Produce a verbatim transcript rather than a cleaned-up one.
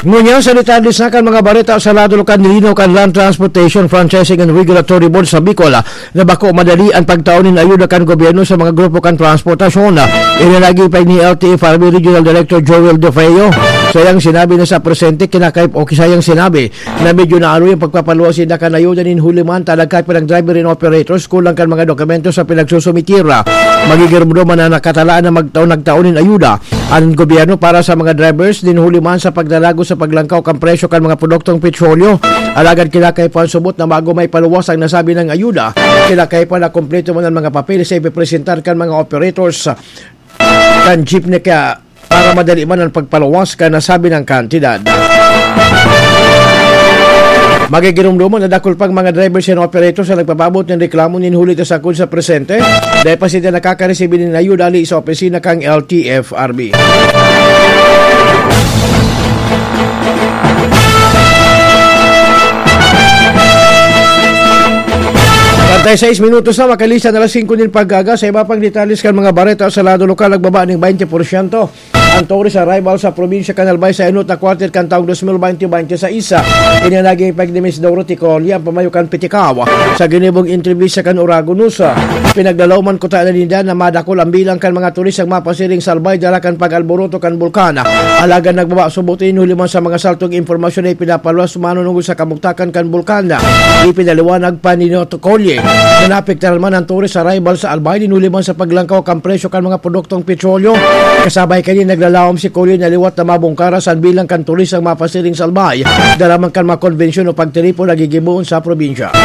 Ngunyan, sa detalye sa kan mga bareta sa lado kan linaw kan Land Transportation Franchising and Regulatory Board sa Bicol, ah, na bako madali ang pagtao nin ayuda kan gobyerno sa mga grupo kan transportasyon. Ah, ini nagipag ni L T F R B Regional Director Joel De Feo. Sayang sinabi na sa presente, kinakay-, o kisayang sinabi na medyo naaro yung pagpapaluwas sinda kan ayuda nin huli man talaga pa ng driver and operators kulang kan mga dokumento sa pinagsusumitira. Magigirumdom man na nakatalaan na magtao-, nagtao nin ayuda ang gobyerno para sa mga drivers din huli man sa pagdalago sa paglangkaw kan presyo kan mga produktong petrolyo. Alagad kinakaipuhan subot na bago may paluwas ang nasabi ng ayuda, kinakaipuhan na kompleto man ang mga papeles sa ipipresentar kan mga operators kan jeepney kaya para madali man ang pagpaluwas kan nasabi ng kantidad. Magigirumduman na dakul pang mga drivers and operators na nagpapabot ng reklamo nin huli ta sakod sa presente. Dahil pa sila nakakaresibir nin ayuda ali sa opisina kang L T F R B. Treinta y seis minutos na, makalista na alas singko nin pag-aga. Sa iba pang detalles kan mga bareta sa lado lokal, nagbaba ning twenty porsyento ang tourist arrival sa probinsya kan Albay sa enot na quarter kan taong dos mil baynte baynte sa isa. Ini ang naging epekto ni Miss Dorothy Colia, ang pamayo kan Pitikaw, sa ginibong entrevista kan Oragon News. Pinaglalaoman ko tayo na ninda na madakol ang bilang kan mga turistang mapasiring sa Albay dala kan pag-alboroto kan bulkan. Alagad nagbaba subot ini huli man sa mga saltong impormasyon na ipinapaluwas manunungod sa kamugtakan kan bulkan. Ipinaliwanag pa ni Noto Colie na naapektaran man ang tourist arrival sa Albay, nin huli man sa paglangkaw kan presyo kan mga produktong petrolyo. Kasabay kani, naglalawom si Colie na liwat na mabungkaras ang bilang kan turistang mapasiring sa Albay dala man kan mga konbensyon o pagtiripon na gigibohon sa probinsya.